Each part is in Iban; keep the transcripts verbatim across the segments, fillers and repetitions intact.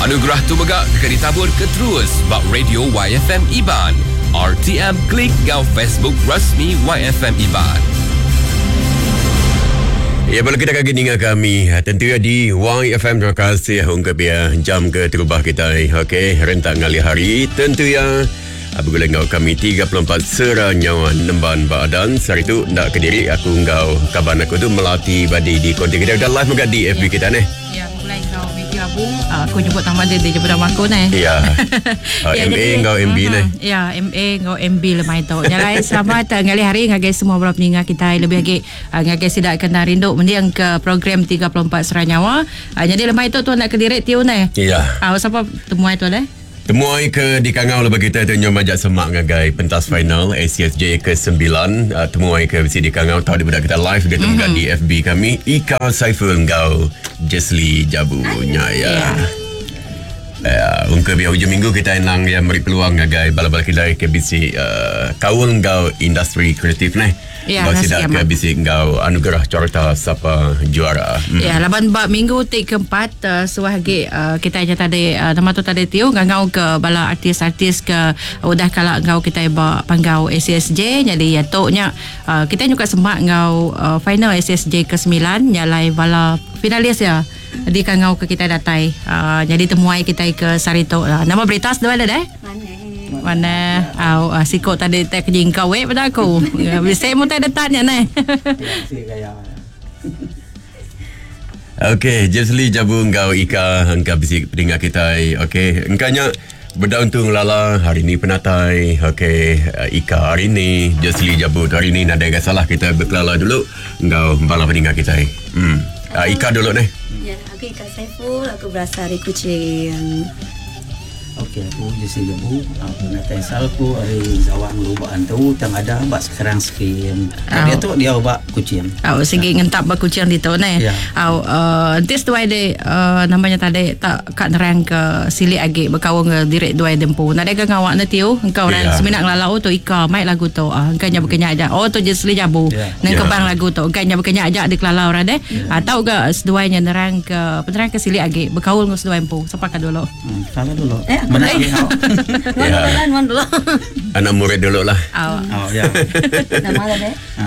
Anugerah tu mega deka ditabur ke terus ba Radio Y F M Iban, R T M Klik ngau Facebook rasmi Y F M Iban. Ya, boleh kita kaki ninga kami tentu ya di Y F M. Terima kasih ungkap ya jam ke terubah kita. Okey, rentak ngalih hari tentu ya. Bergulai ngau kami tiga puluh empat sera nyawa nemban badan. Sehari tu nak ke diri aku ngau kaban aku tu Melati Badi di konti kita dah live juga di F B Ya. kita ni. Ya, mulai kau Matthew Abung, uh, aku nyebut nama dia, dia nyebut nama aku ni. Ya. Uh, Ya, M A jadi- ngau M B ni. Mhm. Ya, M A ngau M B lemai tu. Nyalai selamat uh, ngalih hari ngagai semua bala peninga kita, lebih lagi uh, ngagai sidak kena rindu mendiang ke program tiga puluh empat Sera Nyawa. Uh, jadi lemai tu tu nak ke direk tiu ni. Ya. Ah, uh, siapa temuai tu leh? Temuai ke di Kangau lebih kita tu nyom ajak semak ngagai pentas final A C S J kesembilan. uh, Temuai ke bisi di Kangau tahu di budak kita live dia mm-hmm. di F B kami Ika Saiful ngau Jesli Jabu nya ya. Ya. Ya, ungka biar hujung minggu kita nang yang beri peluang ngagai bala-bala kita ke bisi uh, kaul ngau industri kreatif ni. Ya, Ngau nasi sidak ke amat. bisi ngau anugerah carta sapa juara. Hmm. Ya, laban bab minggu ti keempat uh, suah lagi uh, kita aja tadi uh, nama tu tadi tiu ngangau ke bala artis-artis ke udah kala ngau kita ba panggau A C S J. Jadi ya tu nya uh, kita juga semak ngau uh, final A C S J kesembilan nyalai bala finalis ya di kangau ke kita datai uh, jadi temuai kita ke Sarito lah. Nama berita sedua ada deh? Mana? Au uh, sikok tadi tak kejingkau we pada aku. Ya, bisa mu tak ada tanya ni. Okey, Jesli Jabu ngau Ika engkau bisi pendengar kita. Okey, engkaunya benda untung lala hari ni penatai. Okey, eh, Ika hari ni, Jesli Jabu tu hari ni nadai gak salah kita berkelala dulu ngau bala pendengar kita. Hmm. Uh, Ika dulu ni. Ya, aku Ika Saiful, aku berasal dari Kuching. Okey, aku Jesse Jabu. Aku nak asal aku dari Zawang Lubak Antu, tang ada bak sekarang sekian. Oh. Dia tu dia bak Kuching. Au segi ngentap ba Kuching ditu ne. Ya. Au uh, nanti seduai de uh, namanya tadi tak kat nerang ke silik agi berkawan ke direk duai dempu. Nadai ke ngawak na tiu engkau orang Ya. seminat ngelalau tu Ika mai lagu tu. Ah engkau nya berkenyak aja. Oh, tu Jesli Jabu. Ya. Nang Ya. kebang lagu tu engkau nya berkenyak aja dikelala orang deh. Atau ke seduai nya nerang ke penerang ke silik agi berkaul dengan seduai empu. Siapa ka dulu? Hmm, kalau dulu. Eh, aku Mana dulu. dia? Nuan Ya. dulu lah, nuan dulu. Anak murid dulu lah. Au. Oh, ya. Nama lah deh. Ha.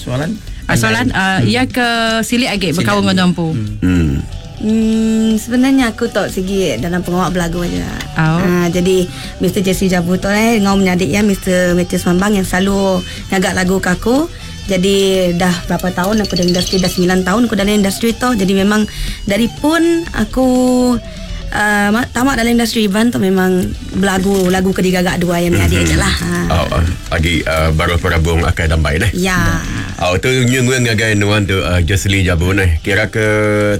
Soalan? Ah, soalan uh, ia ke silik agi berkaul dengan empu. Hmm. Hmm, sebenarnya aku tak segi dalam pengawak belagu aja. Oh. Ah, jadi Mister Jesse Jabu tu eh ngau menyadik ya Mister Matthew Mambang yang selalu ngagak lagu ke aku. Jadi dah berapa tahun aku dalam industri, dah sembilan tahun aku dalam industri tu. Jadi memang dari pun aku uh, tamat dalam industri Iban tu memang belagu lagu kedigagak dua yang menyadik mm-hmm. aja lah. Ha. Oh, uh, lagi uh, baru perabung akan dambai ni. Ya. Oh, tu nyunggu ngagai nuan tu uh, Jesli Jabu ni. Kira ke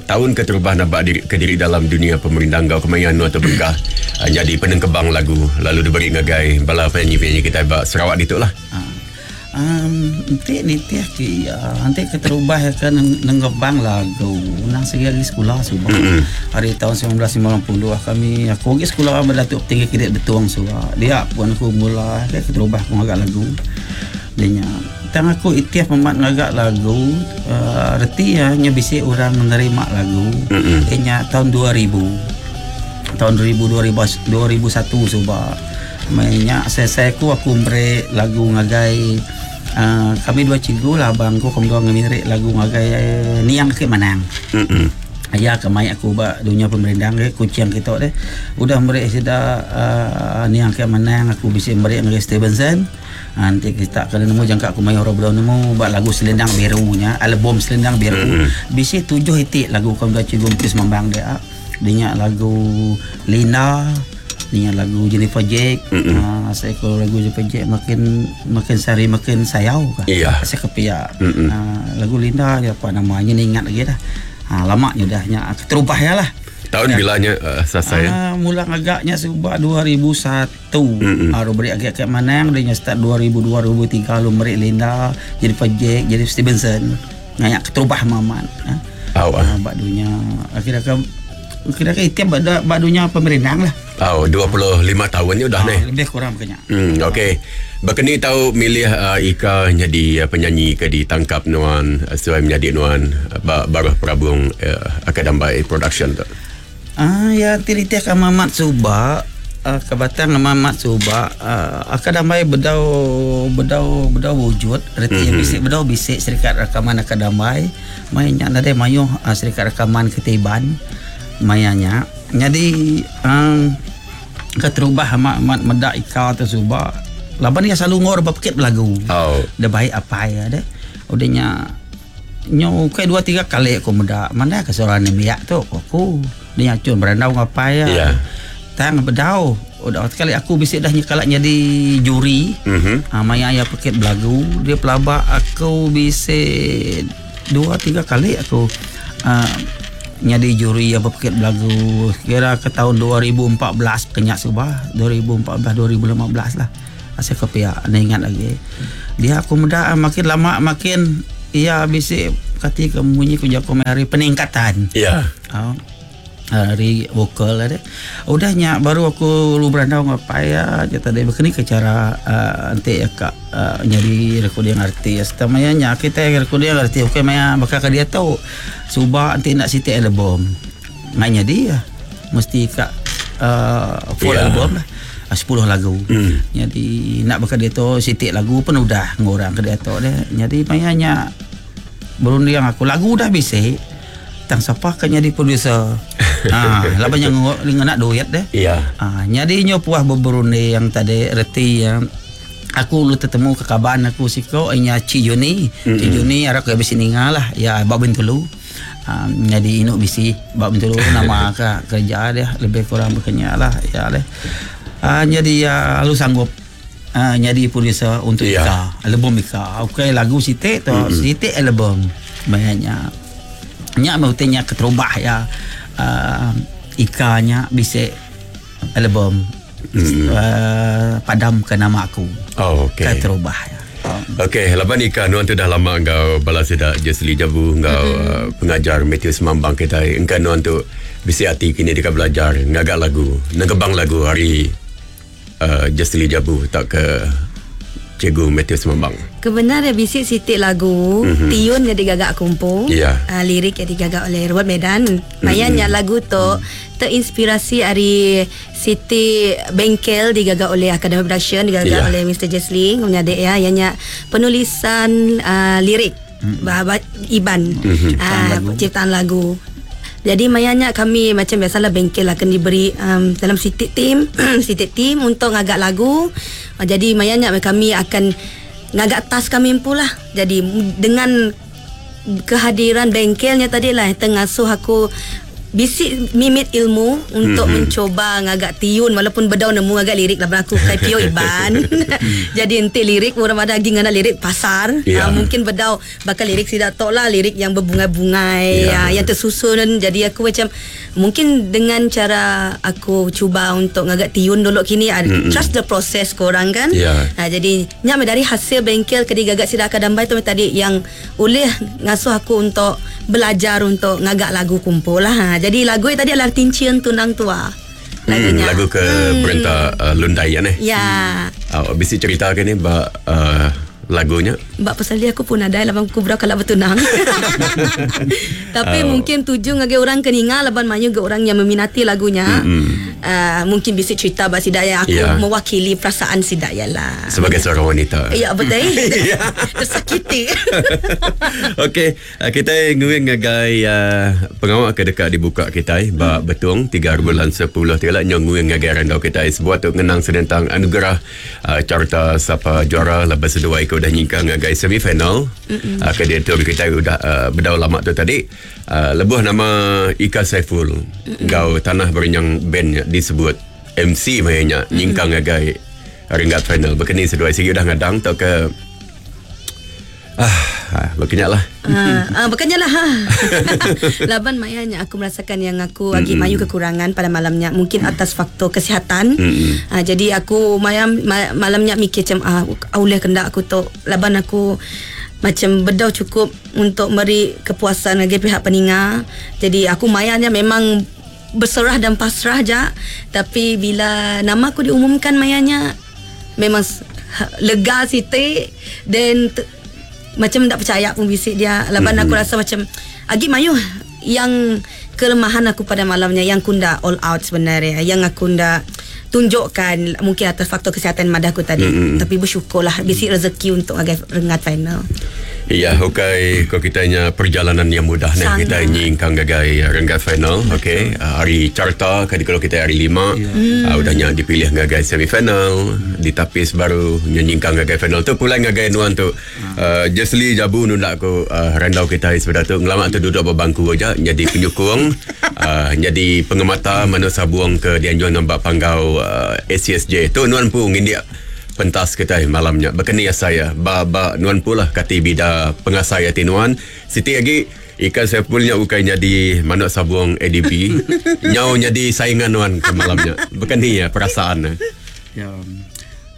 tahun ke terubah nampak diri, ke diri dalam dunia pemerintah kau kemayan nuan tu berkah uh, jadi penengkebang lagu lalu diberi ngagai bala penyanyi-penyanyi kita bak Sarawak ditu lah. Ha. Um, nanti ni tiap ki uh, nanti keterubah ya kan nenggebang lagu nang segi lagi sekolah subuh mm-hmm. hari tahun seribu sembilan ratus sembilan puluh ah, kami aku pergi sekolah berdatuk tinggi kidik betuang subuh dia pun aku mula ke keterubah aku ngagak lagu dia nya tang aku itiaf memat ngagak lagu uh, reti ya nya bisi orang menerima lagu mm-hmm. nya tahun dua ribu, tahun dua ribu, dua ribu, dua ribu satu suba mainnya saya saya aku aku beri lagu ngagai uh, kami dua cikgu lah, abangku kami dua ngemirik lagu ngagai eh, niang ke manang. Mm-mm. Ayah kemai aku ba dunia pemerintah ke Kuching kita deh. Udah mereka sudah uh, niang ke manang aku bisa mereka ngagai Stevenson. Ah, nanti kita kena nemu jangka aku mai orang belum nemu buat lagu Selendang Birunya, album Selendang Biru. Mm-hmm. Bisa tujuh itik lagu kami dua cikgu Mukis Mambang dia. Dia lagu Lina, dia lagu Jennifer Jack. Mm-hmm. Uh, saya kalau lagu Jennifer Jack makin makin sari makin sayau kah. Iya. Saya kepiak. Mm-mm. Uh, lagu Linda ya apa namanya ni ingat lagi dah. Ha, lama nya dah nya terubah ya lah. Tahun bilanya uh, selesai ya? Ah, mula agaknya sebab dua ribu satu. Mm-mm. Ah, beri agak kat Manang dia nya start dua ribu dua dua ribu tiga lu beri Linda, jadi Jack, jadi Stevenson. Ngayak keterubah maman. Ha. Oh, ah. Ah, bak dunia akhirnya ke kira ke itiap bak bak dunia pemerintah lah. Oh, dua puluh lima tahun ni udah Ah, ni. lebih kurang kena. Hmm, okey. Berkeni tahu milih uh, Ika jadi uh, penyanyi ke ditangkap nuan uh, sesuai menjadi nuan uh, ba- baruh perabung uh, Akadambai Production tu. Ah ya tiritiah ka Mamat Suba uh, ke batang Mamat Suba uh, akadamai bedau bedau bedau wujud reti mm-hmm. bisik bedau bisik serikat rakaman akadamai mainnya nadai mayuh uh, serikat rakaman ketiban mayanya jadi um, keterubah amat medak ika tu suba laban dia selalu ngor berpekit lagu. Oh. Dia baik apa ya deh. Udahnya nyo kai dua tiga kali aku medak mana ke seorang nemiak tu aku dia cun berandau ngapai ya. Yeah. Tang bedau. Udah sekali aku bisik dah nyekalak jadi juri. Mm-hmm. Ha, maya ayah pekit belagu dia pelabak aku bisik dua tiga kali aku uh, jadi juri yang berpekit belagu kira ke tahun dua ribu empat belas kenyak subah dua ribu empat belas dua ribu lima belas lah. Asal ke pihak anda ingat lagi. Dia aku muda makin lama makin ia bisik kati ke bunyi ku jako hari peningkatan. Ya. Yeah. Oh. Hari vokal ada. Udahnya baru aku lu berandau ngapai ya tadi begini ke cara uh, nanti ya kak uh, nyari recording artis. Tamayanya kita recording artis okey maya bakal ke dia tahu subah nanti nak siti album. Nganya dia mesti kak uh, full yeah. album lah. sepuluh lagu. Mm. Jadi nak bakal dia tu sitik lagu pun udah ngorang ke dia tu dia. Jadi mayanya berunding aku lagu dah bisik. Tang siapa kan jadi producer. Ha, laban yang nak duit deh. Ya. Ha, jadi nyo puah berunding yang tadi reti yang aku lu tertemu ke kaban aku siko nya Ci Juni. Mm-hmm. Ci Juni arak ke bisi ninga lah ya bab Bintulu. Um, jadi inuk bisi bab Bintulu nama ke kerja dia lebih kurang berkenya lah ya leh. Uh, jadi uh, lu sanggup uh, jadi producer untuk yeah. Ika, album Ika. Okey lagu sitik tu, mm-hmm. sitik album. Banyaknya. Nyak maksudnya keterubah ya uh, Ika nya bisik album mm-hmm. uh, padam ke nama aku. Oh, okey. Keterubah ya. Okey, laban Ika nuan tu dah lama engkau balas dak Jesli Jabu engkau mm-hmm. uh, pengajar Matthew Semambang kita engkau nuan tu bisik hati kini dekat belajar ngagak lagu, ngegebang lagu hari Uh, Jesli Jabu tak ke Cikgu Matthew Semambang. Kebenaran bisik sitik lagu mm-hmm. tiun yang digagak kumpul, yeah. uh, lirik yang digagak oleh Robert Medan. Mayanya mm-hmm. lagu tu mm. terinspirasi dari Siti Bengkel digagak oleh Academy Production digagak yeah. oleh Mister Jesli menyadik ya ianya penulisan uh, lirik mm. Iban mm-hmm. uh, lagu. Ciptaan lagu. Jadi mayanya kami macam biasalah bengkel akan diberi um, dalam sitik team, sitik team untuk ngagak lagu. Uh, jadi mayanya kami akan ngagak tas kami pula. Jadi dengan kehadiran bengkelnya tadi lah tengasuh aku bisik mimit ilmu untuk mm-hmm. mencoba ngagak tiun walaupun bedau nemu ngagak lirik lah aku kai pio Iban. Jadi ente lirik orang ada lagi ngana lirik pasar. Yeah. Uh, mungkin bedau bakal lirik sidak tok lah lirik yang berbunga-bungai yeah. uh, yang tersusun. Jadi aku macam mungkin dengan cara aku cuba untuk ngagak tiun dulu kini uh, Mm-mm. trust the process korang kan. Yeah. Uh, jadi nyam dari hasil bengkel ke digagak sidak kadambai tu tadi yang oleh ngasuh aku untuk belajar untuk ngagak lagu kumpul lah. Ha. Jadi lagu tadi adalah Tincian Tunang Tua. Hmm, lagu ke hmm. Perintah uh, Lundayan eh. Ya. Uh, bisi cerita ke ni bak uh, lagunya? Bak pasal dia aku pun ada laban aku berapa kalau bertunang. Tapi Oh. mungkin tuju ngagi orang keninga laban mayu ke orang yang meminati lagunya. Mm-mm. Uh, mungkin bisa cerita bak sidaya aku Ya. mewakili perasaan sidaya lah. Sebagai seorang wanita. Ya betul. Tersakiti. Okey, uh, kita nguing ngagai uh, pengawal ke dekat dibuka kita eh, bak betung tiga bulan sepuluh tiga lah nguing ngagai randau kita eh, sebuah tu ngenang senentang anugerah uh, carta sapa juara lepas seduai ke udah nyingkang ngagai semifinal. Uh, ke dia tu kita udah uh, bedau lama tu tadi. Uh, lebuh nama Ika Saiful ngau tanah berenyang band disebut M C mainnya nyingkang ngagai ringkat final. Berkeni seduai sigi udah ngadang atau ke ah, ah berkenyak lah. Ah, ah bukannya lah. Ha. Laban mayanya aku merasakan yang aku lagi mayu kekurangan pada malamnya mungkin atas faktor kesihatan. Mm-mm. Ah, jadi aku mayam ma, malamnya mikir macam ah oleh kendak aku tu laban aku macam bedau cukup untuk meri kepuasan bagi pihak peninga. Jadi aku mayanya memang berserah dan pasrah je. Tapi bila nama aku diumumkan mayanya memang s- ha- lega sitik dan te- macam tak percaya pun bisik dia. Laban Mm-mm. aku rasa macam agi mayu Yang kelemahan aku pada malamnya yang kunda all out sebenarnya, yang aku nda tunjukkan mungkin atas faktor kesihatan madah aku tadi. Mm-hmm. Tapi bersyukurlah bisi rezeki untuk agai rengat final. Ya, okey, kau kitanya perjalanan yang mudah ni kita nyingkang gagai renggat final, okey. Hari carta kali kalau kita hari lima, yeah. uh, udahnya dipilih gagai semifinal, hmm. ditapis baru nyingkang gagai final tu pulang gagai nuan tu. Uh, Jesly Jabu nundak aku uh, randau kita sebentar tu ngelamak tu duduk berbangku aja jadi penyokong, uh, jadi pengemata mana sabuang ke dianjuan nampak panggau uh, A C S J. Tu nuan pun ngindik pentas kita malamnya. Berkeni saya ba ba nuan pula kati bida pengasai ati nuan. Siti lagi ikan sepulnya bukan jadi manuk sabung A D B. Nyau jadi saingan nuan ke malamnya. Berkeni ya perasaan. Ya.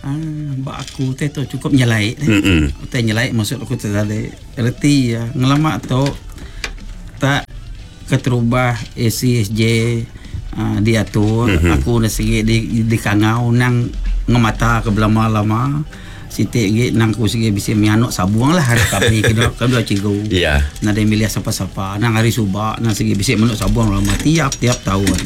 Ah, ba aku teh tu cukup nyelai. Mm-mm. Teh nyelai maksud aku tu tadi. Reti ya ngelamak tu tak keterubah A C S J uh, diatur. Mm-hmm. Aku dah segi di di kangau nang ngemata ke belama-lama sitik gi nang ku sigi bisi mianuk sabuang lah hari kami kena kedua cikgu. Ya. Yeah. Nada milih siapa-siapa nang hari subak nang sigi bisi manuk sabuang lama tiap-tiap tahun.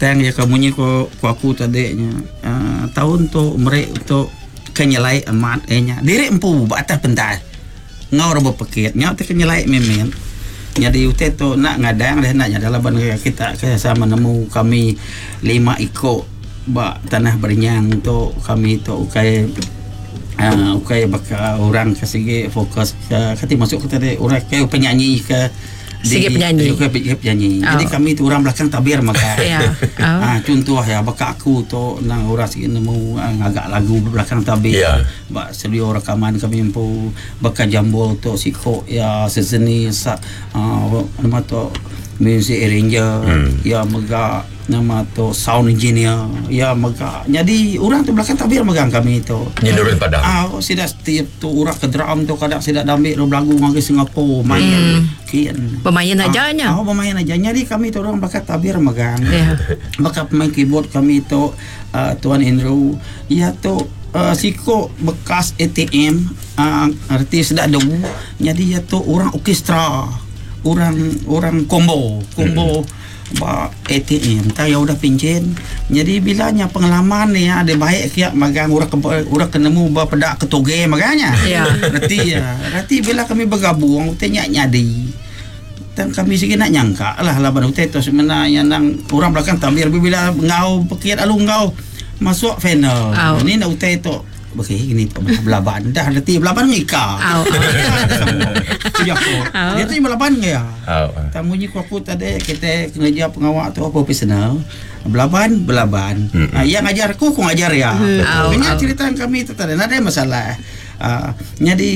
Tang ya kamunyi ko ku aku tadinya uh, tahun tu merek untuk kenyelai amat enya. Diri empu ba atas pentas. Ngau rebo pekit ngau te kenyelai memen. Jadi utai tu nak ngadang dah nak nyadalah ban kita sama nemu kami lima ikok ba tanah berenyang tu kami tu ukai uh, ukai baka orang ke segi fokus ke kati masuk ke tadi orang ke penyanyi ke segi penyanyi ukai penyanyi. Oh. Jadi kami tu orang belakang tabir maka. Ya. Oh. Ah contoh ya baka aku tu nang orang segi nemu ngagak lagu belakang tabir. Yeah. Ba studio rekaman kami empu baka jambul tu siko ya seseni sa uh, nama tu music arranger. Hmm. Ya mega nama tu sound engineer ya mega. Jadi orang tu belakang tabir megang kami tu. Nyenurun padang. Ah sida setiap tu orang ke drum tu kadang sida ambil lagu ngagi Singapura main. Hmm. Kian. Pemain aja nya. Ah, pemain aja. Jadi kami tu orang belakang tabir megang. Yeah. Maka pemain keyboard kami tu uh, Tuan Andrew ya tu uh, siko bekas A T M uh, arti sedak debu. Jadi ya tu orang orkestra, orang orang combo, combo. Hmm. Ba A T M tak ya udah pincin. Jadi bilanya pengalaman ni ada baik kiak magang orang ke, orang kenemu ba pedak ketoge maganya. Ya. Reti ya. Reti bila kami bergabung utai nyak nyadi. Dan kami sigi nak nyangka lah laban utai tu sebenarnya nang orang belakang tambir bila ngau pekiat alu ngau masuk final. Oh. Ni nak utai tu okey gini tu belaban dah reti belaban ngika. Au. Ya. Dia tu belaban ke ya. Au. Tamunya ku aku tadi kita kerja pengawak tu profesional. Belaban belaban. Mm-hmm. Ha, yang ngajar aku aku ngajar ya. Mm. Ini cerita kami tu tadi ada masalah. Uh, jadi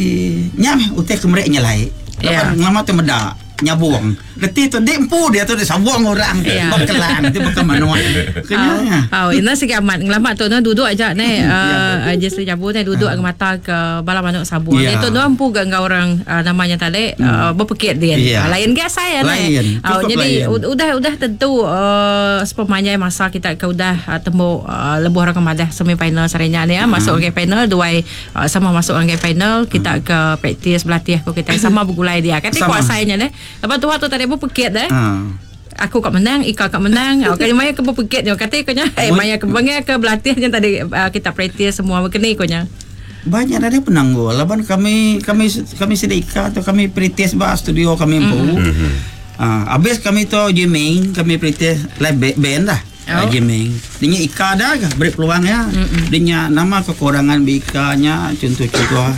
nyam utai kemerek nyelai. Yeah. Lama tu medak nyabuang. Reti tu dek empu dia tu dia sabuang orang. Yeah. Berkelan tu bukan manual. Kena. Oh, ini segi amat ngelamat tu no duduk aja ni uh, Jesly Jabu ni duduk uh. mata ke bala manuk sabuang. Yeah. Dia tu no empu gak ngau orang uh, namanya tadi uh, berpekit dia. Yeah. Uh, lain ke saya ni. Oh, jadi u- udah udah tentu uh, sepemanjai masa kita ke udah uh, temu uh, lebuh orang kemadah semi final sarenya ni ya uh. masuk ke final duai uh, sama masuk ke final kita uh. ke praktis berlatih ko kita sama bergulai dia. Kata kuasanya ni. Lepas tu waktu tadi pun pekit dah. Ha. Aku kat menang, Ika kat menang. Oh, kali maya ke pekit ni kata konya. Eh maya ke bangai ke berlatih je tadi uh, kita praktis semua berkeni konya. Banyak ada penanggul. Laban kami kami kami sedia Ika tu kami praktis ba studio kami empu. Mm-hmm. Ha, habis kami tu jamming, kami praktis live band dah. Oh. Jamming. Dia Ika dah ke beri peluang ya. Dia nama kekurangan Ika nya contoh-contoh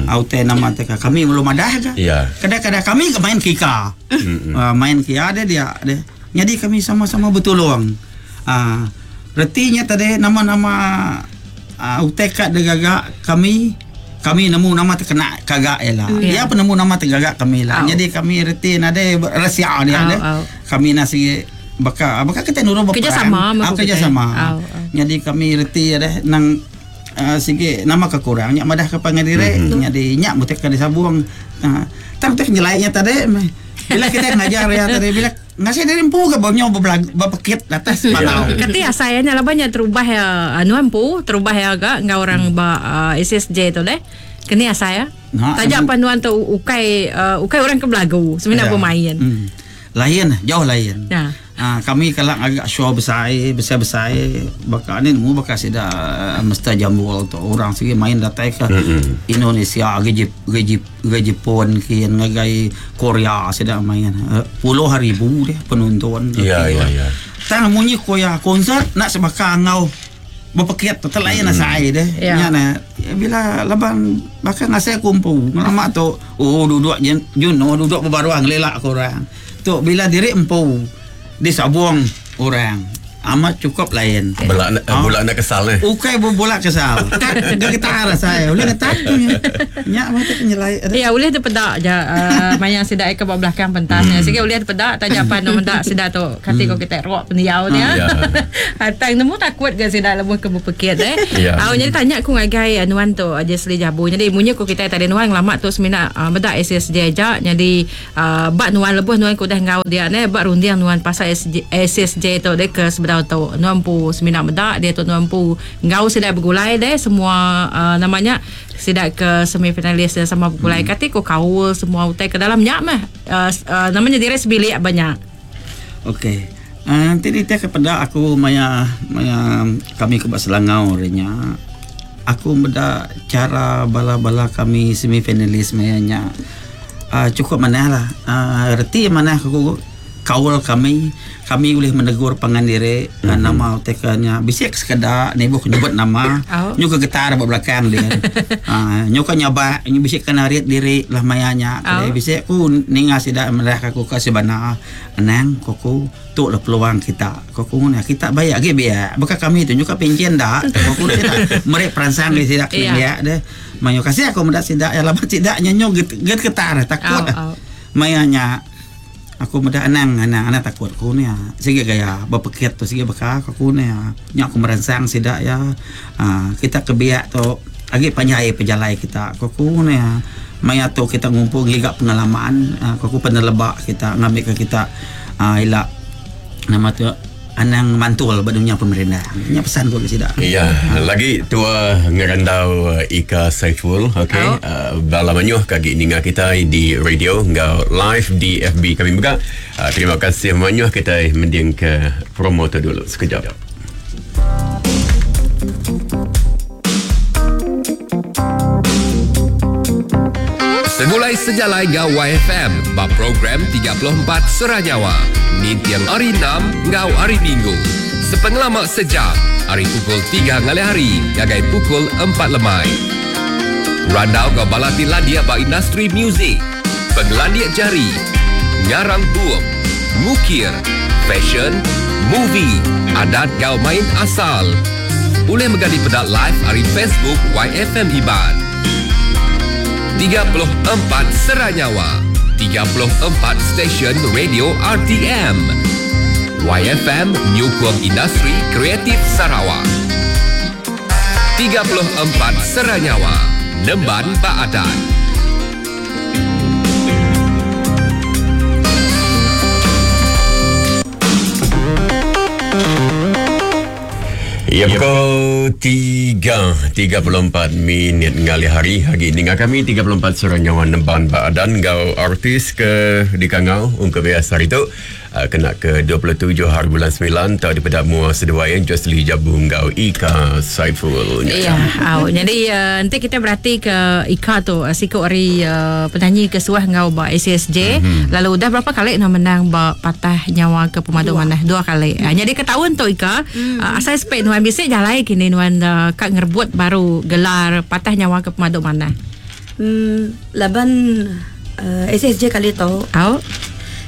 autai nama teka kami belum ada ke. Ya. Kadang-kadang kami ke main ke Ika. Uh, main ke ada dia ada. Jadi kami sama-sama bertolong. Ah, uh, retinya tadi nama-nama uh, utai kat degagak kami kami nemu nama terkena kagak ialah. Mm. Dia penemu nama tergagak kami lah. Oh. Jadi kami reti nade rahsia dia Oh, ada. oh. Kami nasi baka baka kita nurut berperang. Kerjasama ah, kerjasama. Oh, oh. Jadi kami reti ada nang uh, sige nama kekurang nyak madah ke pangadire mm-hmm. Jadi nyak mutek ka disabung. Uh, tang tek nyelaiknya tadi bila kita ngajar ya tadi bila ngasih dari empu ke bawahnya berpekit atas panau. Kati asayanya lah banyak terubah ya anu empu terubah ya agak ngau orang ba uh, S S J tu leh. Kini asaya. Nah, Tajak panduan tu ukai uh, ukai orang ke belagu sebenarnya Ya. bermain. Hmm. Lain jauh lain. Ya. Ha, kami kalau agak show besar besar-besar bakal ni mu bakal sida mesti jambul tu orang segi main datai ke mm-hmm. Indonesia ke ke ke Jepun ke ngagai Korea sida main puluh ribu dia penonton. Ya ya ya. Tang munyi koya konsert nak sebaka ngau berpekit tu lain mm-hmm. asai deh. Ya. Nya na bila laban bakal ngasai kumpu lama tu oh duduk juno duduk berbaruang lelak korang. Tu bila diri empu disabung orang amat cukup lain. Belak nak Ah. bulak nak kesal eh. Ukai bolak kesal. Tak dia getar saya. Boleh getar tu nya. Nya mata penyelai. Ya, boleh terpedak je uh, maya sidak ke bawah belakang pentasnya. Sikit boleh terpedak tanya apa nak mendak sidak tu. Kati kau kita rock pendiau ni. Ya. Hatang nemu takut ke sidak lebuh ke berpekit eh. Ya. Ah, jadi tanya aku ngagai Nuan tu Jesli Jabu. Jadi munyi ku kita tadi Nuan lama tu semina uh, bedak S S J aja. Jadi uh, bak Nuan lebuh Nuan ku dah ngau dia ne bak rundiang Nuan pasal S S J tu dia ke sebedau tu Nuan pu semina bedak dia tu Nuan pu ngau sidak bergulai deh semua uh, namanya sidak ke semifinalis dan sama bergulai. Hmm. Kati ku kaul semua utai ke dalam nyak mah uh, uh, namanya diri sebilik banyak. Okey. Uh, nanti dia kepada aku maya maya kami ke Selangor nya. Aku beda cara bala-bala kami semifinalis maya nya. Uh, cukup manah lah. Uh, reti manah aku kaul kami kami boleh menegur pangan diri mm-hmm. nama utekanya bisik sekadar ni bukan nyebut nama Oh. nyu ke getar ba belakang dia ha nyu ka nyabak nyu bisik kena riat diri lah mayanya Oh. oh. bisik ku ninga sida merah aku ka sebana anang koku tu lah peluang kita koku ni kita bayak ge biak bukan kami tu nyu ka pencen dak koku tidak merek peransang dia tidak Iya. biak deh mayo kasih aku mendak sidak ya laban sidaknya nyu get, get getar takut Oh, oh. mayanya aku muda anang anang anang takut ku ni ah. Sige gaya berpekit tu sige beka aku ni ah. Nya aku merangsang sidak ya. Ah, kita kebiak tu agi panjai pejalai kita ku ku ni ah. Maya tu kita ngumpul ngiga pengalaman ah, ku ku penelebak kita ngambil ke kita ah, ilak nama tu anang mantul ba dunia pemerintah. Nya pesan ku ke sidak. Ya, lagi tua ngerandau Ika Saiful, okey. Oh. Uh, bala manyuh kagi ninga kita di radio ngau live di F B kami juga. Uh, terima kasih manyuh kita mending ke promo tu dulu sekejap. Segulai sejalai ngau Y F M bab program tiga puluh empat Seranyawa. Nintiang hari enam ngau hari Minggu. Sepengelama sejam, hari pukul tiga ngalih hari, gagai pukul empat lemai. Randau ngau balati landia ba industri muzik, penglandia jari, ngarang bup, ngukir, fashion, movie, adat ngau main asal. Boleh menggali pedak live hari Facebook Y F M Iban. tiga puluh empat Seranyawa, tiga puluh empat stesen radio R T M. Y F M Nyukung Industri Kreatif Sarawak. tiga puluh empat Seranyawa, Nemban Baadan. Ya, pukul tiga tiga puluh empat minit ngalih hari. Hari ini dengan kami tiga puluh empat Seranyawa Nemban Baadan ngau artis ke di Kangau ungkap biasa hari tu. Uh, kena ke dua puluh tujuh hari bulan sembilan tahun daripada mua seduai Josli Jabu ngau Ika Saiful. Ya, au. Jadi uh, nanti kita berarti ke Ika tu uh, sikut hari uh, penyanyi ke suah ngau ba S S J. Mm-hmm. Lalu dah berapa kali nak menang ba patah nyawa ke pemadu mana? Dua kali. Uh, jadi ke tahun tu Ika, mm. uh, asal spek nuan bisik jalai kini nuan uh, kak ngerebut baru gelar patah nyawa ke pemadu mana? Hmm, laban uh, S S J kali tu. Au.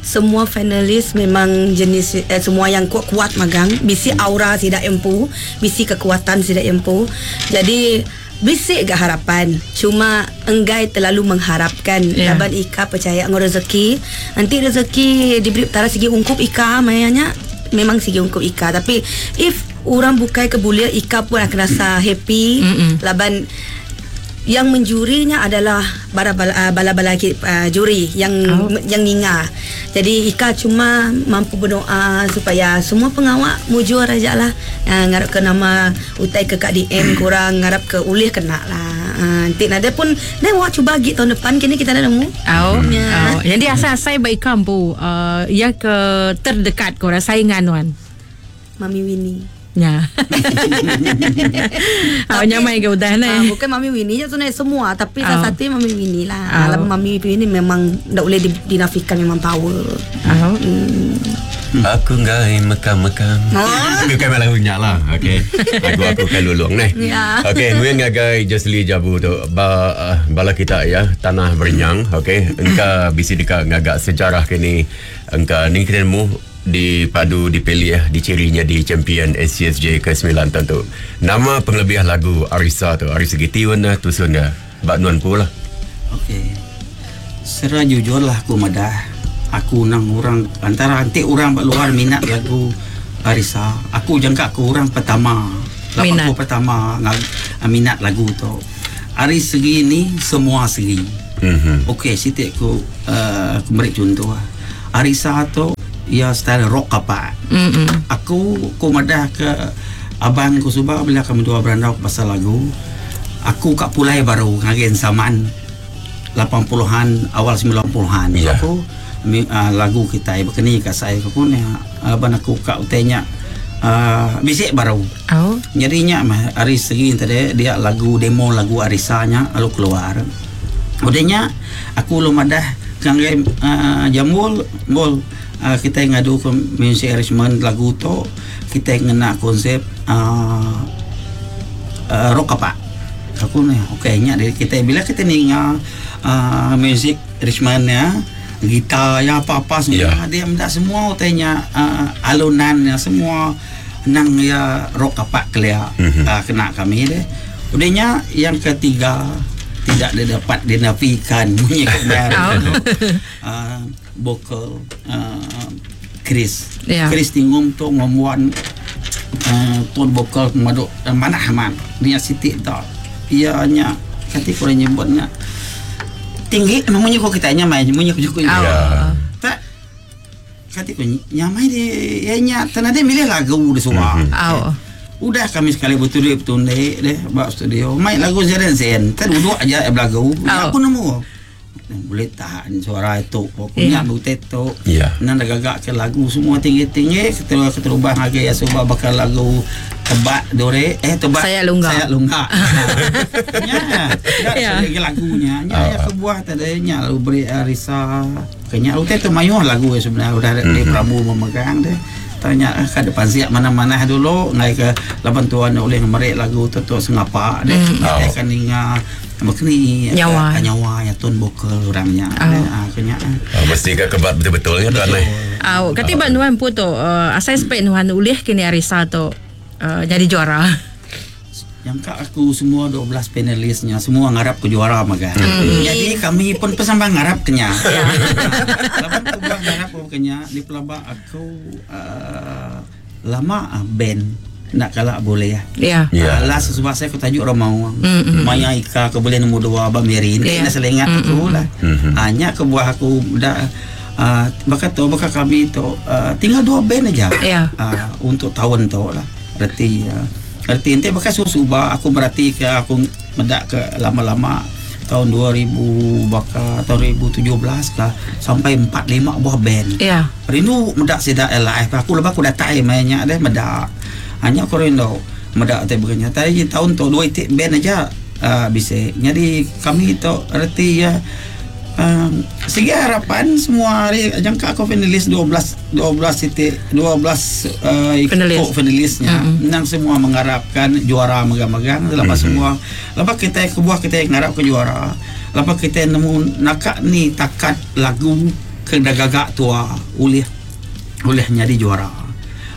Semua finalis memang jenis eh, semua yang kuat-kuat magang, bisi aura sidak empu, bisi kekuatan sidak empu. Jadi bisi gak harapan, cuma enggai terlalu mengharapkan. Yeah. Laban Ika percaya ngau rezeki. Nanti rezeki diberi tara segi ungkup Ika mayanya memang segi ungkup Ika, tapi if orang bukai kebulia Ika pun akan rasa happy. Mm-mm. Laban yang menjurinya adalah bala-bala, bala-bala uh, juri yang Oh. yang ninga. Jadi Ika cuma mampu berdoa supaya semua pengawak mujur aja lah. Uh, ngarap ke nama utai ke Kak D M kurang ngarap ke ulih kena lah. Uh, nanti nada pun dah wah cuba lagi tahun depan kini kita dah nemu. Oh. Ya. Oh. Jadi asal-asal baik kampu uh, ya ke terdekat korang saingan wan. Mami Winnie. Ya. Oh, nyamai ke udah Ah, ni. bukan Mami Winnie je sebenarnya semua tapi Oh. salah satu Mami Winnie lah. Oh. Oh. Mami Winnie memang tak boleh dinafikan memang power. Oh. Aku ngai mekam-mekam. Oh. Bukan malah unyak lah. Okey. Aku aku kan lulung ni. Ya. Okey, mungkin ngagai Jesli Jabu tu ba, uh, bala kita ya, tanah berenyang, okey. Engka bisi dekat ngagak sejarah kini. Engka ni kita nemu dipadu dipilih ya, dicirinya di champion S C S J ke sembilan tentu. Nama pengelebih lagu Arisa tu, ari segi tiun lah, tusun dia. Bak nuan pula. Okey. Secara jujur lah aku madah. Aku nang orang antara antik orang kat luar minat lagu Arisa. Aku jangka aku orang pertama. Lapan Minat. aku pertama ngag, minat lagu tu. Ari segi ni semua segi. Mhm. Okey, sitik aku uh, aku beri contoh lah. Arisa tu ya style rock apa. Mm-mm. Aku ku madah ke abang ku subah bila kami dua berandau pasal lagu. Aku kat Pulai baru ngagen zaman lapan puluhan awal sembilan puluhan. Ya. Aku mi, uh, lagu kita berkeni kat saya aku pun ya abang aku kat utenya uh, bisik baru. Oh. Jadinya mah hari segi tadi dia lagu demo lagu Arisanya lalu keluar. Udahnya aku lu madah kangge uh, jambul bol uh, kita ngadu ke music arrangement lagu tu kita ngena konsep uh, uh, rock apa. Aku ni okey nya dari kita bila kita ninga uh, music arrangement ya gitar ya apa-apa semua Ya. dia mendak semua utainya uh, alunan ya semua nang ya rock apa kelia Mhm. uh, kena kami deh. Udahnya yang ketiga tidak dapat dinafikan bunyi kemarin uh, vokal uh, Chris. Ya. Chris Tinggung tu ngomuan uh, ton vokal maduk uh, manah man dia sitik tak. Ia nya kati kurang nyebutnya tinggi memang kok kita nya main munyi ko Oh. Ya. Tak kati ko nyamai di ya nya tanah dia milih lagu di suara. Mhm. Oh. Udah kami sekali betul dia betul deh deh bab studio main lagu Zeren Zen. Tak duduk aja lagu. Oh. Aku nemu. Boleh tahan suara itu pokoknya Ya. yeah. tu. Ya. Nang dah gagak ke lagu semua tinggi-tinggi keterubah keterubah lagi ya sebab bakal lagu tebak dore eh tebak Sayat Lunggak. Sayat Lunggak. Ya. Ya. Ya lagunya. Ya ya kebuah tadi nya lalu beri Arisa kenya utai tu mayuh lagu ya sebenarnya udah mm-hmm. di Prabu memegang deh. Tanya eh, ke depan siap mana-mana dulu ngai ke lapan tuan oleh merik lagu tu tu sengapa deh. Mm. Kita Oh. akan ninga makni Nyawa. nyawa ya tun vokal orangnya. Oh. Ah kenya. Ah, mesti ke kebat betul-betulnya tuan eh. Oh, kati bak nuan pun tu uh, asal spek nuan ulih kini Arisa tu uh, jadi juara. Yang kak aku semua dua belas panelisnya semua ngarap ke juara maga. Mm. Jadi kami pun pesambang ngarap kenya. Laban aku buat ngarap ke kenya di pelabak aku uh, lama uh, band nak kalak boleh ya. Ya. Ya. Alah sesuatu saya aku tajuk orang mau. Mm, mm. Maya Ika aku boleh nombor dua Abang Mary. Ni Ya. yeah. selengat aku lah. Mhm. Hanya ke buah aku dah uh, bakal tu bakal kami tu uh, tinggal dua band aja. Ya. Uh, untuk tahun tu lah. Reti uh, reti nanti bakal susu-suba aku berarti ke aku medak ke lama-lama tahun dua ribu bakal tahun dua ribu tujuh belas lah sampai empat lima buah band. Ya. Rindu medak sedak live. Aku lebih aku datang mainnya deh medak. Hanya aku rindu medak teh berenya. Tadi tahun tu dua itik band aja uh, bisa. Jadi kami tu reti ya um, segi harapan semua hari jangka aku finalis dua belas dua belas titik dua belas uh, Finalis. ikut finalisnya. Mm-hmm. Nang semua mengharapkan juara megang-megang lepas mm-hmm. semua lepas kita kebuah kita ngarap ke juara. Lepas kita nemu nakak ni takat lagu ke dah gagak tua ulih ulih nyari juara.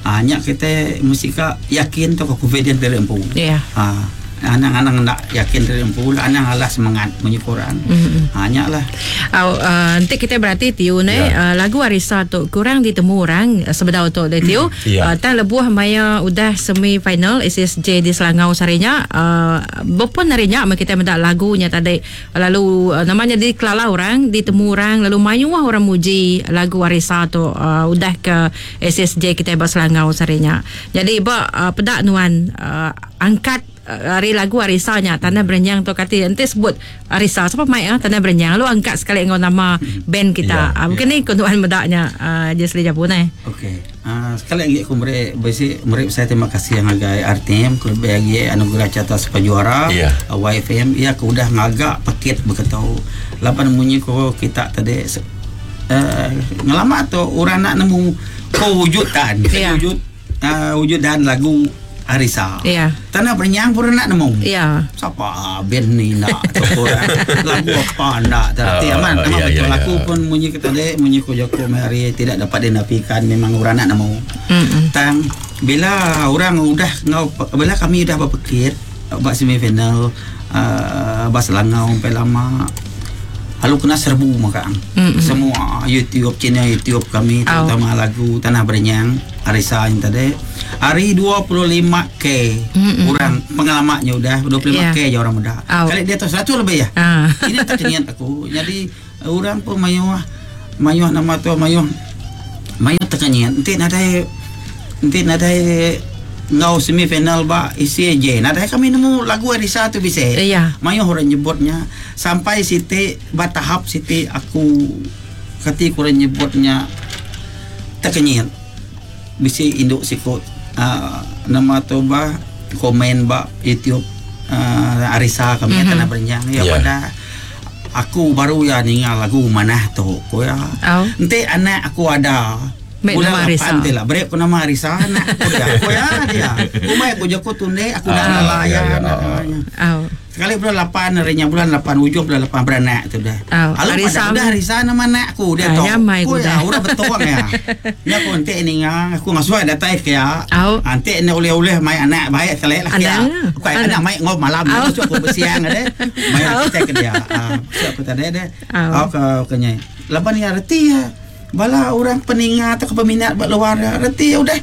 Ah nya kita mesti ka yakin tu confident dari empu. Ya. Ah anang-anang nak yakin dari empu lah anang alah semangat bunyi korang. Mm-mm. Ha nya lah. Au, uh, nanti kita berarti Tiu ni Ya. uh, lagu Arisa tu kurang ditemu orang uh, sebedau tu deh Tiu. Ya. Uh, tan lebuh maya udah semi final S S J di Selangor sarinya uh, bepun harinya ma kita mendak lagunya tadi lalu uh, namanya dikelala orang ditemu orang lalu mayuah orang muji lagu Arisa tu uh, udah ke S S J kita ba Selangor sarinya. Jadi ba uh, pedak nuan uh, angkat hari lagu Arisa nya Tanah Berenyang tu kati enti sebut Arisa siapa mai ah Tanah Berenyang lalu angkat sekali dengan nama band kita. Ya, Ah mungkin ni kunduan medaknya uh, Jesly Jabu nai. Okey. Uh, sekali lagi aku beri besi beri saya terima kasih yang agai R T M lebih lagi anugerah carta sepajuara Ya. uh, Y F M ya aku udah ngagak paket berketau lapan munyi ko kita tadi uh, ngelama tu orang nak nemu kewujudan Ya. wujud uh, wujud dan lagu Arisa. Ya. Tanah Berenyang pun nak nemu. Ya. Siapa band ni nak lagu apa nak tapi Ah, aman aman ya, betul ya, aku ya. pun munyi kita tadi munyi ko joko mari tidak dapat dinafikan memang orang nak nemu. Mm-mm. Tang bila orang udah ngau bila kami udah berpikir buat semifinal uh, bas langau sampai lama lalu kena serbu maka Mm-mm. semua YouTube channel YouTube kami Au. terutama lagu Tanah Berenyang Arisa yang tadi hari dua puluh lima K Mm-mm. orang pengalamannya udah dua puluh lima K Yeah. je orang muda Au. kali dia tu seratus lebih ya Ah. ini tak kenyat aku jadi orang pun mayuh mayuh nama tu mayuh mayuh terkenyat nanti nadai nanti nadai ngau semifinal ba isi je nadai kami nemu lagu Arisa tu bisa Iya. mayuh orang nyebutnya sampai siti ba tahap siti aku kati kurang nyebutnya terkenyit bisi induk sikut uh, nama tu ba komen ba YouTube uh, Arisa kami mm-hmm. Tanah Berenyang ya Yeah. pada aku baru ya ningal lagu manah tu ko ya Au. ente anak aku ada Baik bulan nama Arisa. lapan tu lah break aku nama Arisa anak aku dia aku ya dia umai aku joko tunde aku dah Ah, nelayan ya, ya, anak ah. namanya. Au. Sekali bulan lapan harinya bulan lapan ujung bulan lapan beranak tu dah. Oh, Lalu Arisa. pada udah Arisa nama anak aku dia Ah, tu. nyamai Aku aku ya dah. udah betul ya. Ni aku nanti ni ngang aku ngasuh ada taif ya. Au. Nanti ni oleh-oleh mai anak baik sekali lah ya. Anak. Aku anak Anak. mai ngop malam Au. masuk aku bersiang ada. Mai kita ke dia. Ah, masuk aku tadi ada. Au. Au ke kenyai. Lapan ya reti ya. Bala orang peningat atau peminat buat luar ya. Reti ya udah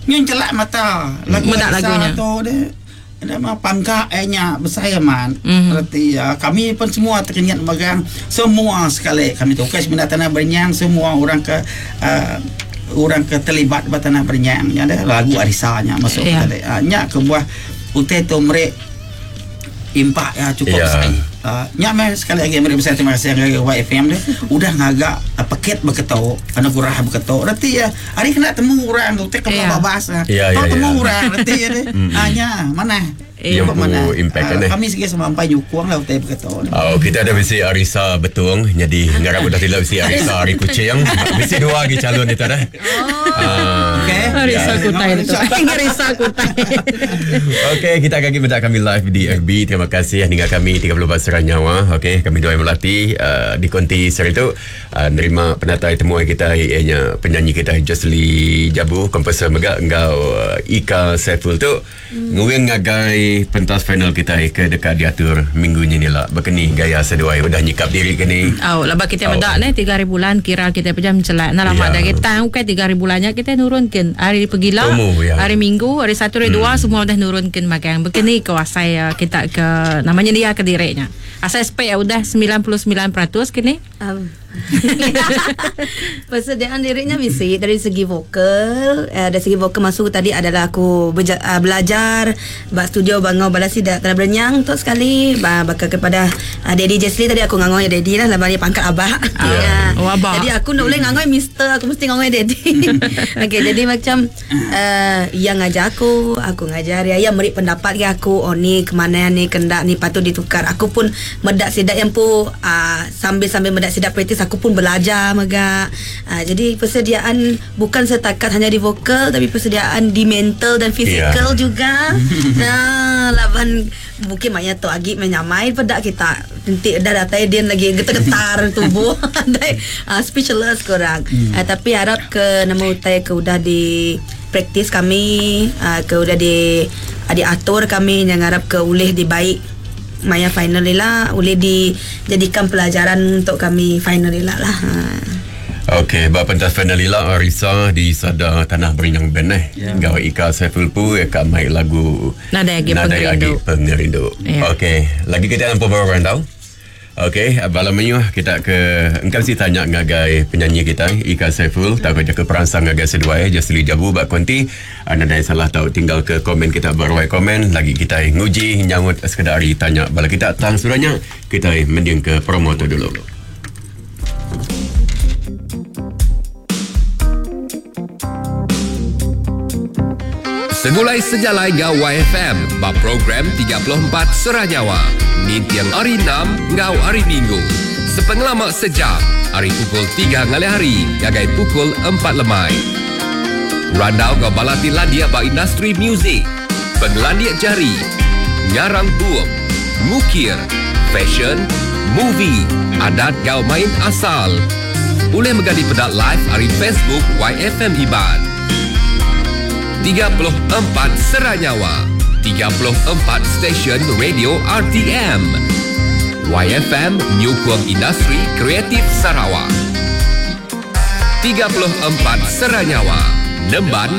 nyun celak mata. Lagu Medak Arisa lagunya. tu dia. Ada mah pangka nya besar ya man. Mhm. Reti ya kami pun semua terkenyat megang semua sekali kami tu kes minat Tanah Berenyang semua orang ke uh, orang ke terlibat ba Tanah Berenyang nya ada lagu Arisa nya masuk Ya. yeah. tadi. Uh, nya ke buah utai tu merek impak ya cukup Ya. yeah. sekali. Uh, nya meh sekali lagi mereka besar terima kasih ke Y F M dia udah ngagak uh, paket berketok anugerah berketok reti ya hari kena temu orang tu tek Ya. ke babas Ya, ya, Tau temu ya. orang reti ya dia ah nya mana Eh. Yang pu impact kan, eh? Kami sikit sampai nyukung lah utai berketok ni. Oh, kita ada besi Arisa Betung. Jadi ngarap udah tidak besi Arisa Ari Kucing. Besi dua lagi calon itu dah. Ah. Okey. Arisa Ya. kutai tu. Arisa kutai. Okey, kita akan minta kami live di F B. Terima kasih dengan kami tiga puluh empat Serang Nyawa. Okey, kami dua yang melati uh, di konti seri itu uh, nerima penatai temuan kita ianya penyanyi kita Jesly Jabu, komposer mega engkau uh, Ika Saiful tu. Hmm. Nguing ngagai pentas final kita ke dekat diatur minggu ni lah. Berkeni gaya seduai udah nyikap diri ke ni. Oh, lepas kita Oh. medak ni tiga hari bulan kira kita pejam celak. Nah lama Ya. dah kita bukan tiga hari bulannya kita nurunkan. Hari pergilah, Temu, ya. hari Minggu, hari Satu, hari Dua semua dah nurunkan makan. Begini kuasai uh, kita ke namanya dia ke direknya. Asal spek ya udah sembilan puluh sembilan peratus kini. Um. Persediaan liriknya mesti dari segi vokal, eh, dari segi vokal masuk tadi adalah aku beja, uh, belajar bak studio bangau balasi dah Tanah Berenyang tu sekali ba, bakal kepada uh, Daddy Jesly tadi aku ngangoi Daddy lah lepas ni pangkat abah. Ya. Oh, abah. Jadi aku nak boleh ngangoi mister, aku mesti ngangoi Daddy. Okey, jadi macam uh, yang ngajar aku, aku ngajar dia, yang beri pendapat ke aku, oh ni ke mana ni kendak ni patut ditukar. Aku pun medak sidak yang pu uh, sambil-sambil medak sidak praktis aku pun belajar megak. Uh, jadi persediaan bukan setakat hanya di vokal tapi persediaan di mental dan fizikal Ya. juga. Nah, laban mungkin maknya tu agi menyamai pedak kita. Nanti dah datai dia lagi getar-getar tubuh. Dai uh, speechless korang. Hmm. Uh, tapi harap ke nama utai ke udah di praktis kami, uh, ke udah di uh, diatur kami yang harap ke ulih dibaik maya final lah boleh dijadikan pelajaran untuk kami final lah lah. Ha. Okey, bab pentas final ila Arisa di Sada Tanah Berenyang Band eh. Ya. Gawa Ika Saiful Pu kat mai lagu Nadai Agi Nadai Pengerindu. Agi Pengerindu. Ya. Okey, lagi kita nampak beberapa orang tahu. Okey, bala mayuh kita ke engkau si tanya ngagai penyanyi kita Ika Saiful tak ke peransang ngagai seduai Jasli Jabu bak konti anda salah tau tinggal ke komen kita beruai komen lagi kita nguji nyangut sekedar hari tanya bala kita tang surahnya kita mending ke promo tu dulu. Segulai sejalai ngau Y F M ba program tiga puluh empat Seranyawa. Nintiang hari enam ngau hari Minggu. Sepengelama sejam, hari pukul tiga ngalih hari ngagai pukul empat lemai. Randau ngau balati landia ba industri muzik, pengelandia jari, ngarang bup, ngukir, fashion, movie, adat ngau main asal. Boleh megadi pedak live hari Facebook Y F M Iban. tiga puluh empat Seranyawa, tiga puluh empat stesen radio R T M. Y F M Nyukung Industri Kreatif Sarawak. tiga puluh empat Seranyawa, Nemban